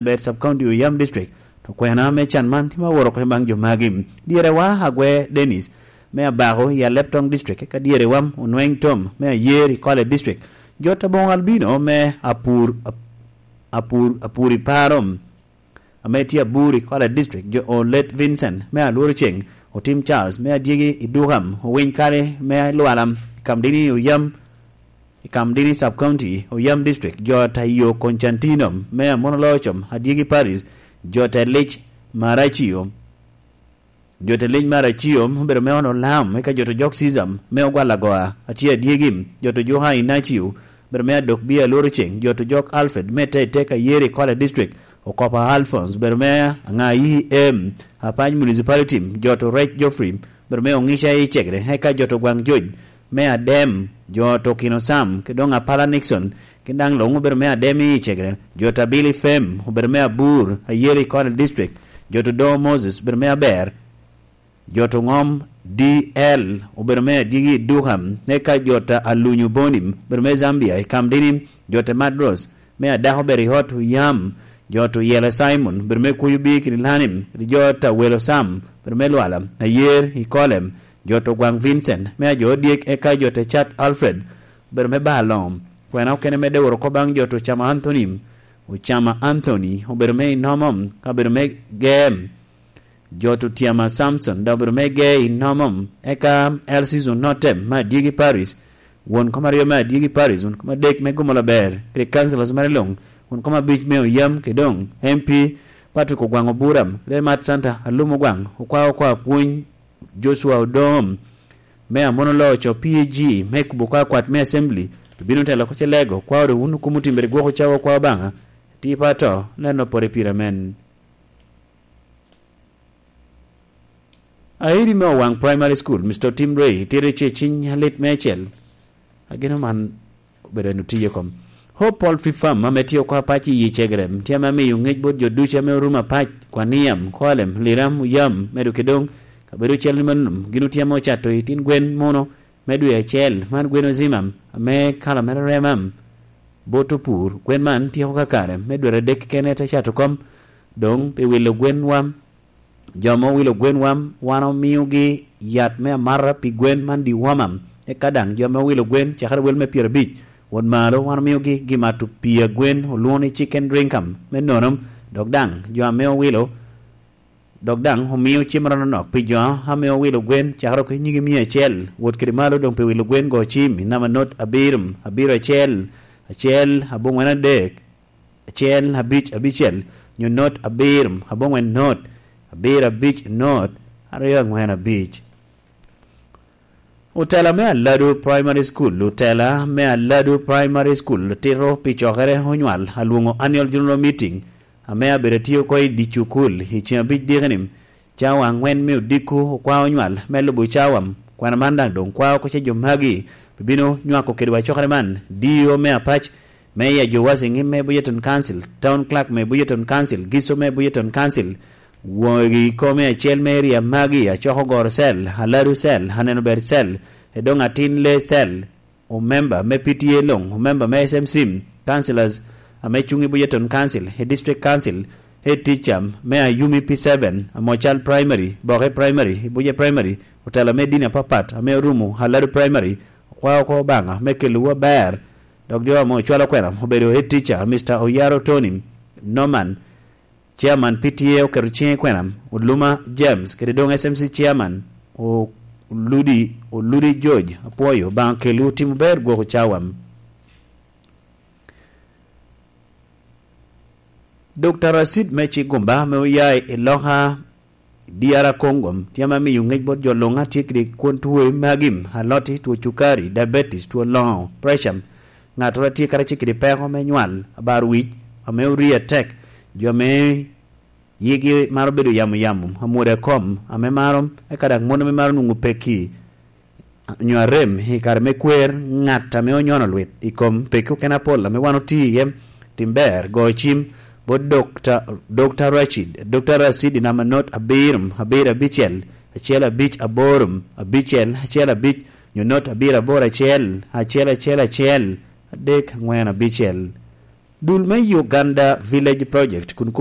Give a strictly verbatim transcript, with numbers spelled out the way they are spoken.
Bed Sub County, Oyam District. To kwena me can man tye ma oworo oko baŋ jo magi. Dyerewa Agwe Dennis me Abako i Alep Town District, eka dyerewa Onweng Tom me Ayer i Kwale District, jo Taboŋo Albino me Apur, Apur, Apur i Paro ame tye Abur i Kwale District, jo Olet Vincent me Alworo Ceng, Otim Charles me Adyegi i Dukam, Owiny Kali me Lwala, Kamdini Oyam, i Kamdini Sub County, Oyam District, jo Tayo Constantino me Amono Locom, Adyegi Paris, jo Telic Maracio, jo Telic Maracio obedo me Ono Lam, eka jo to Jok Sisam me Ogwal Agoa, atye Adyegi, jo to Joka Inacio, obedo me Adok Bia Loro Ceng, jo to Jok Alfred me Tete Kayeri Kwale District, Okopa Alphonse, obedo me Aŋa E M, Apany Municipality, jo to Rec Geoffrey, obedo me Oŋica i Cegre, eka jo to Gwaŋ Joc, me Adem, jo to Kino Sam, ki doŋ Apala Nixon, kin daŋ luŋ obedo me Adem i Cegre, jo to Abili Fem, obedo me Abur, Ayeri Kone District, jo to Doŋo Moses, obedo me Aber, jo to Ŋom D L, obedo me Adyegi i Duka, eka jo to Alunyu Bonim, obedo me Zambia, i Kamdini, jo to Madros, me Adako obedo i ot Oyam, jo to Yela Simon, obedo me Kuyu Bikini Lanim, kede jo to Awelo Sam, obedo me Lwala, Ayer, i Kolem, jo to Gwaŋ Vincent, me Ajo Odyek, eka jo to Cat Alfred, obedo me Balom. Kwena okene medde woro oko baŋ jo to Ocama Anthony, Ocama Anthony, obedo me Inomom, ka obedo me Gem, jo to Otyama Samson, dok obedo me Ge Inomom, eka Elsis Onotem, me Adyegi Paris, won kom aryo me Adyegi Paris, won kom adek me Gumo Laber, kede councillors mere luŋ, won kom abic me Oyam, kede doŋ M P Patrick Ogwaŋ Oburam, kede Mat Santa Alum Ogwaŋ, okwa okwa pwony Joshua Odom, me Amono Loco P A G, me kubo kwa kwat me Assembly, obino telo ko ce lego, kwa oro wun okumo timbere gwoko cawa kwa Obaŋa, tipo ato, neno pore pire amen. Airi me Owaŋ Primary School, Mister Tim Ray, tito ce ciny alit me acel. Ageno man obedo en otiye kom. Hope Poultry Farm, ame tye oko apac i yi Cegerem, tye ame amiyo ŋec bot jo ducu ame orumo apac, Kwaniam, Kwalem, Liram, Oyam, medo ki doŋ, kabedo ocel ni manum, gin otye ame ocato i tin gwen muno, me dwe acel, man gwen ozimam, ame kala mere remam, bot opur, gwen man tyeko kakare, me dwe adek kene te cato kom, doŋ pi wilo gwen wam, jo ame owilo gwen wam, wan omiogi yat me amata pi gwen man dewormer, eka daŋ jo ame owilo gwen cakere wel me pyerabic wot malo, wan omiogi gimato pii a gwen olwoŋo ni chicken drinkum me nonom, dok daŋ jo ame owilo, dok daŋ omio cem rononok pi jo ame owilo gwen cakere oko i nyigi mia acel wot kede malo, doŋ pi wilo gwen go cim i namba not abiro, abiro acel, acel, aboŋwen adek, acel abic abicel, nyo not abiro aboŋwen not abiro abic not aryo aŋwen abic. Otela me Aladu Primary School, otela me Aladu Primary School tito pi cokere onywal alwoŋo Annual General Meeting, ame abedo atye oko i dye cukul i ceŋ abic dikeni, cawa aŋwen me odiko okwa onywal me lubo cawa. Kwena man daŋ doŋ kwa oko ce jo magi bibino nywako kedwa cokere man, D E O me apac, Meya Jowas Eŋim me Bujeton Council, Town Clerk me Bujeton Council, Giso me Bujeton Council, wogi kome acel me area magi, acoko goro cell, aladu cell, aneno ber cell, edoŋ atin le cell, omemba me P T A luŋ, omemba me S M C, councillors ame cuŋ i Bujeton Council, i District Council, head teacher me Ayumi P seven, Amocal Primary, Boke Primary, Buje Primary, otela me dini apapat ame orumo Aladu Primary, okwao oko Obaŋa me kelowu aber, dok jo ame ocwalo kwena obedo head teacher, Mister Oyaro Tony, Norman, Chairman P T A oketo ciŋe i kwena, Oluma James, kede doŋ S M C Chairman, Oludi, Oludi George, apwoyo, Obaŋa kelwu timo ber gwoko cawa. Dokta Racid me Cigumba ame oya i loka D R Congo tye ame miyo ŋec bot jo luŋ a tye kede kwon tuo magi, aloti, tuo cukari, diabetes, tuo loŋo, pressure, ŋattoro a tye kara tye kede peko me nywal, abaro wic, ame orii atek, jo ame yigi maro bedo yamo yamo, amwodo a kom, ame maro, eka daŋ mon ame maro nwoŋo pekki, nyo arem i kare me kwer, ŋat ame onyono lwit i kom pekki okene apol ame wan otye iye, tim ber, go cim bot Dokta, Dokta Racid, Dokta Racid i namba not abiro, abiro abicel, acel abic aboro, abicel, acel abic, nyo not abiro aboro acel, acel acel acel, adek aŋwen abicel. Dul me Uganda Village Project kun